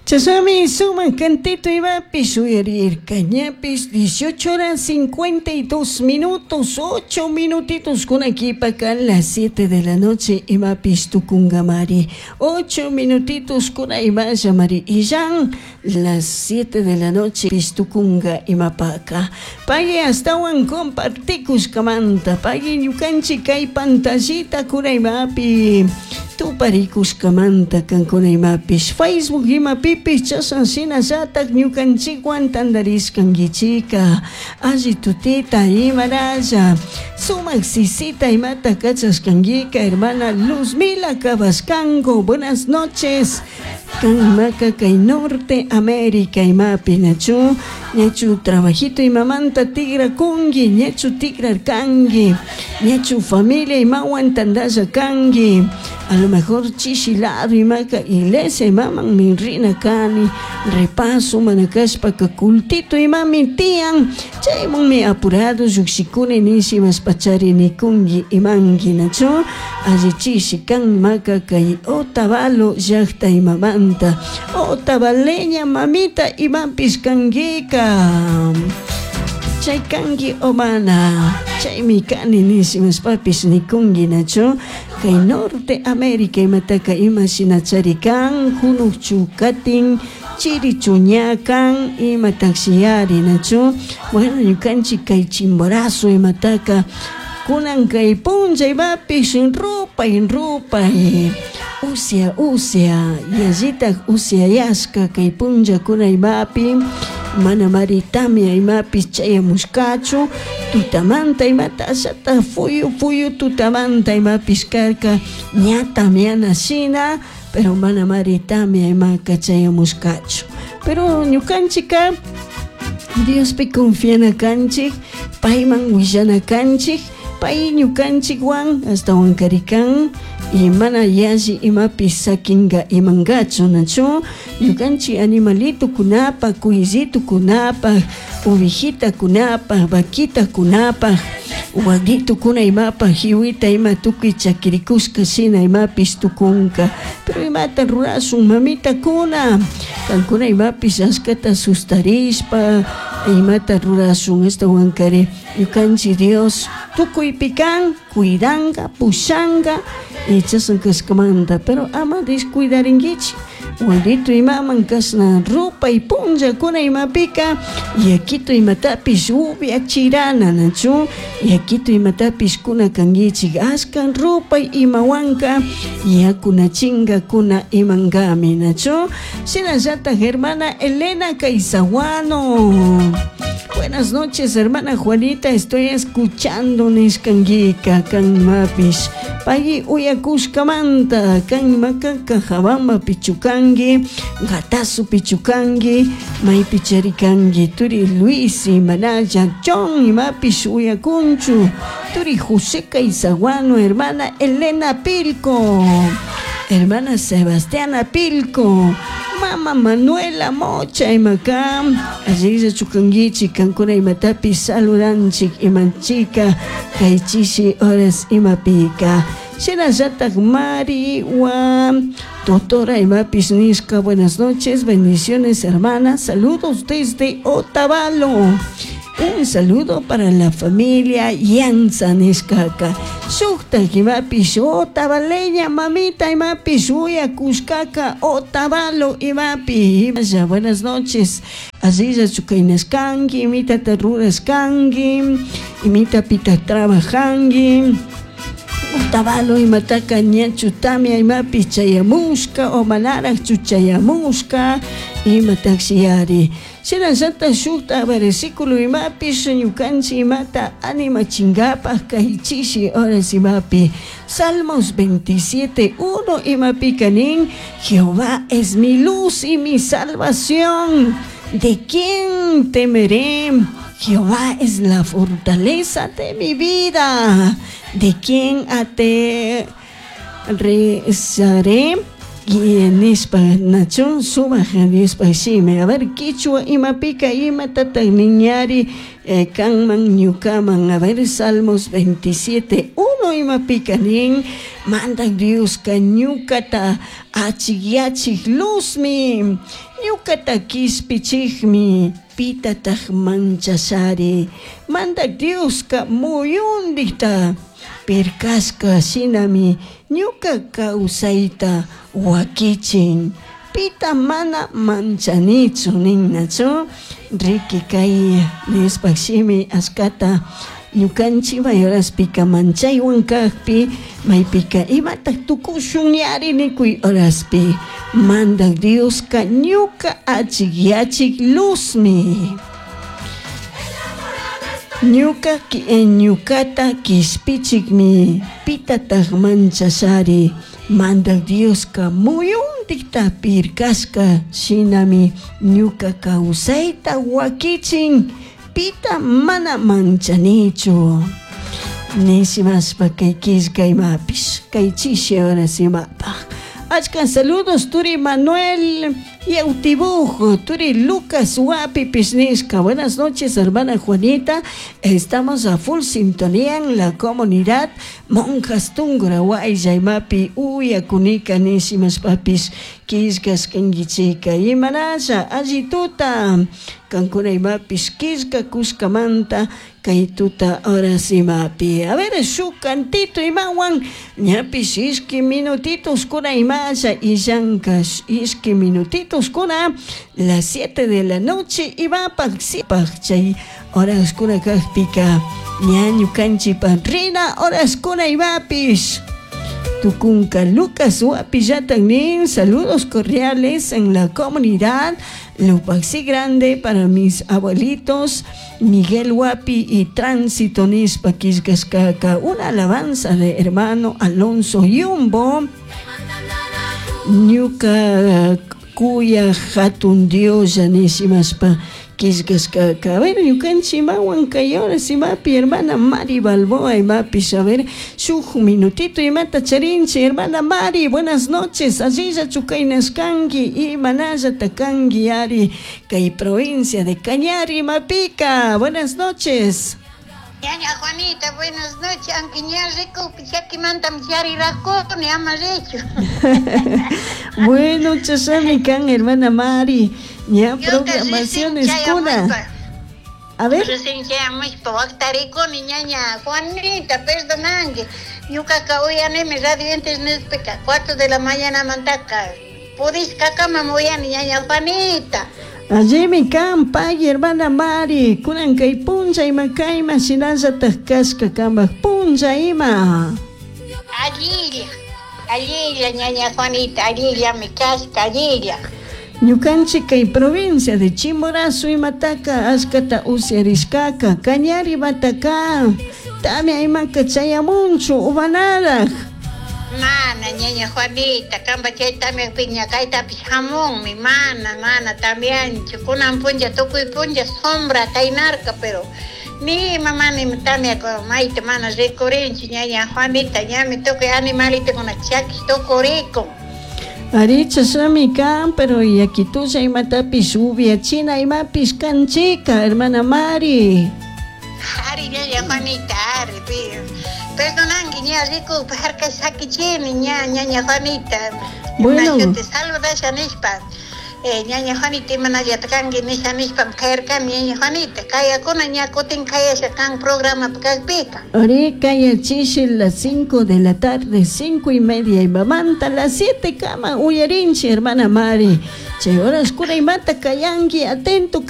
Chashnami sumak cantito imapish uyarirka ñapish 18 horas 52 minutos 8 minutitos kunakipaka las 7 de la noche imapish tukungamari 8 minutitos kuna imallamari illan las 7 de la noche pish tukunga imapaka pagui ashtawan compartikushkamanta pagui ñukanchik kay pantallita kuna imapi tuparikushkamanta kankuna imapish Facebook imapipish chashna shinallatak ñukanchikwan tantarishkankichika alli tutita imaralla sumak sisita imata kachashkankika hermana Luzmila Cabascango buenas noches kan imaka kay Norte América imapi nachu ñachu trabajito imamanta tigrakunki ñachu tigrarkanki ñachu familia imawan tantalla kanki a lo mejor chishi lado imaka iglesia imaman rina kani repaso mana kashpaka cultito imami tiyan chaymanmi apurado llukshikuni nish imashpachari nikunki imanki nachu alli chishi kan imaka kay Otavalo llakta imamanta Otavaleña mamita imapish kankika chay kanki o mana chaymi kani nish imashpapish nikunki nachu kay Norte América imataka ima shinachari kan hunukchu katin chirichu ña kan imatashi nachu bueno ñukanchik kay Chimborazo imataka kunan kay punlla imapish rupay rupay usya usya yallitak usyayashka kay punllakuna imapi mana mari tamia imapish chayamushkachu tutamanta imata ashata fuyu fuyu tutamanta imapish karka ña tamiana shina pero mana mari tamia imaka chayamushkachu pero ñukanchika Diospi confiana kanchik payman willana kanchik pay ñukanchikwan ashtawan karikan y mana yalli imapish sakinga imangachu nachu ñukanchik animalitokunapaj cuyllitokunapaj ovejitakunapaj vaquitakunapaj waguitukuna imapaj jiwita ima tukuy chakirikushka shina imapish tukunka pero imata rurashun mamitakuna kankuna imapish ashkata sustarishpa imata rurashun ashtawankari ñukanchik Dios tukuypi kan cuidanga pushanga y chashna kashkamanta pero ama descuidarinkichik wawito imaman kashna rupay punllakuna imapika yakito imatapish upiachirana nachu yakito imatapish kuna kankichik ashka rupay imawanka yakunachinkakuna imankami nachu shinallatak hermana Elena Caizaguano buenas noches hermana Juanita estoy escuchando nishkankika kan imapish pay uyakushkamanta kan imaka Cajabamba pichukanki Gatazo pichukanki maypi charikanki turi Luis imanalla John imapish uyakunchu turi José Caizaguano hermana Elena Pilco hermana Sebastiana Pilco mama Manuela Mocha imaka allilla chukankichik kankuna imatapish saludanchik imanchika kay chishi horas imapika shinallatak Mari wa doctora imapish nishka buenas noches bendiciones hermana saludos desde Otavalo un saludo para la familia Yanza nishkaka shuktak imapish Otavaleña mamita imapish uyakushkaka Otavalo imapi buenas noches allilla chukaynashkanki imitata rurashkanki imitapita trabajanki Otavalo imataka ñachu tamia imapish chayamushka o manarajchu chayamushka imatashi shinallatak shukta versículo imapish ñukanchik imata animachinkapak kay chishi horas imapi Salmos 27, 1 imapika nin Jehová es mi luz y mi salvación ¿de quién temeré? Jehová es la fortaleza de mi vida. ¿De quién aterrizaré? Nishpa nachu sumak Diospak shimi a ver kichwa imapika imatatak niñari kanman ñukaman a ver Salmos 27 1 imapika nin mandak Dioska ñukata achikyachik luzmi. Ñucata quishpichijmi, pitataj manchashari. Mandaj Diosca muyundijta pircashca shinami ñuca causaita huaquichin. Pita mana manchanichu ninnachu. Riqui kay Diospaj shimi ashkata ñukanchik mayoraspika manchaywan kajpi maypika imataj tukushun yari nikuy horaspi Mandaj Dioska ñuka achikyachik luzmi. Ñuka ñukata kishpichikmi pitataj manchashari. Mandaj Dioska muyundikta pirkashka shinami ñuka kawsayta wakichin pita mana manchanichu. Nishimashpa kay killka imapish kay chishi horas imapaj. Achka saludos turi Manuel Yautibuj, turi Lucas Huapipish nishka. Buenas noches, hermana Juanita. Estamos a full sintonía en la comunidad Monjas Tungura Waylla imapi uyakunika nishimashpapish killkashkankichika. Imanasha alli tuta kankuna imapish killkakushkamanta kay tuta horas imapi. A ver, shuk cantito imawan ñapish ishki minutitos kuna imasha illanka ishki minutitos kuna las 7 de la noche imapaj sipaj chay horas kuna kajpika ña ñukanchikpa rina horas kuna imapish. Tucunca Lucas Huapillatan nin, saludos cordiales en la comunidad Lupaxi Grande para mis abuelitos Miguel Huapi y Tránsito Nispa Quiscascaca. Una alabanza de hermano Alonso Yumbo. Ñuka kuya hatun Dios nishimaspa killkashkaka. A ver, ñukanchik imawan kay horas imapi hermana Mari Balboa imapish. A ver, shuk minutito imata charinchik hermana Mari, buenas noches. Allillachu kaynashkanki imanallata kanki ari kay provincia de Cañar imapika. Buenas noches. Ñaña Juanita, buenas noches. Aunque ña rico, chaquimantam charirajuni, ama richu. Bueno, chashami kan hermana Mari. Ña programaciones kuna. A ver. Recién chayamushpa waqtarikuni ñaña Juanita, perdonanki. Ñuqaqa uyanimi radio internetpika 4 de la mañana mantaka. Pudishkakamam uyani ñaña Juanita. Allimi kan pay hermana Mari, kunan kay punlla ima kayma shinallataj kashka kamak punlla ima. Allilla, allilla ñaña Juanita, allillami kashka, allilla. Ñukanchik kay provincia de Chimborazo imataka ashkata usyarishkaka, Cañar imataka, tamia imaka chayamunchu uvanaraj. Mana ñaña Juanita, kamba chay tamyakpi ña kaytapish hamunmi, mana, mana tamyanchu, kunan punlla tukuy punlla sombra kaynarka, pero ni ima mana ima tamya mayta mana rikurinchu ñaña Juanita, ñami tukuy animalitukuna chakish tukurikun. Ari chashami kan, pero yakitulla imatapish uviachina imapish kanchika, hermana Mari. Ari ñaña Juanita, ari, perdonanki ña rikukpa harkash sakichini ña ñaña Juanita. Bueno. Te saludasha nishpa. Ñaña Juanita imanallata kanki nisha nishpam kayarkani ñaña Juanita. Kayakuna ña kutin kayasha kan programa kajpika. Ari kayachishi las 5 de la tarde, 5:30 imamanta, las 7 kama uyarinchi hermana Mari. Chay horas kuna imata kayanki, atento.